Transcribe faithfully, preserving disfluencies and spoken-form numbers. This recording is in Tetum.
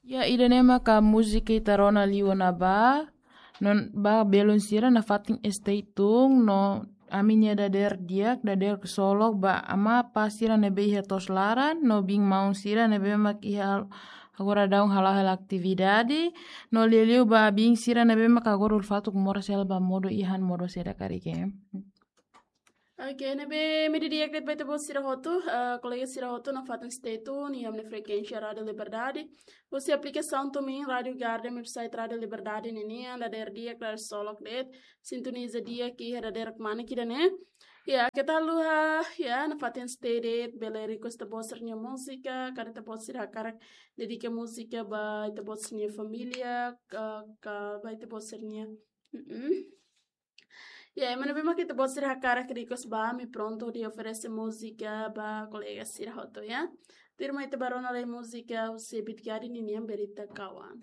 Ya, ida-ne'e maka múzika ita rona liu ona ba, no ba belun sira nafatin stay tune, no ami-nia dadeer di'ak, dadeer ksolok ba amá apá sira ne'ebé iha to'os laran, no biin-maun sira ne'ebé mak iha agora daudaun hala'o hela atividade, no liuliu ba biin sira ne'ebé mak agora ulun-fatuk moras hela ba modo iha no modo saida karik. Oke, ne'ebé imi di'ak de'it ba ita-boot sira hotu, eh, kolega sira hotu nafatin stay tune iha ami-nia frekuénsia Rádiu Liberdade. Husi aplikasaun TuneIn, Rádiu Garden, website Rádiu Liberdade ninian, dadeer di'ak, dadeer ksolok de'it, sintoniza di'ak iha dadeer kmanek ida-ne'e. Ya, keta haluha, ya, nafatin stay de'it, bele request ita-boot sira-nia múzika, karik ita-boot sira hakarak dedika múzika ba ita-boot sira-nia família, ka, ka ba ita-boot sira-nia. Mm-mm. Ya, ema ne'ebé mak ita-boot sira hakarak request ba, ami prontu hodi oferese múzika ba kolega sira hotu, ya. Tuirmai ita bá rona lai múzika husi Beat Garden ninian, Berita Kawan.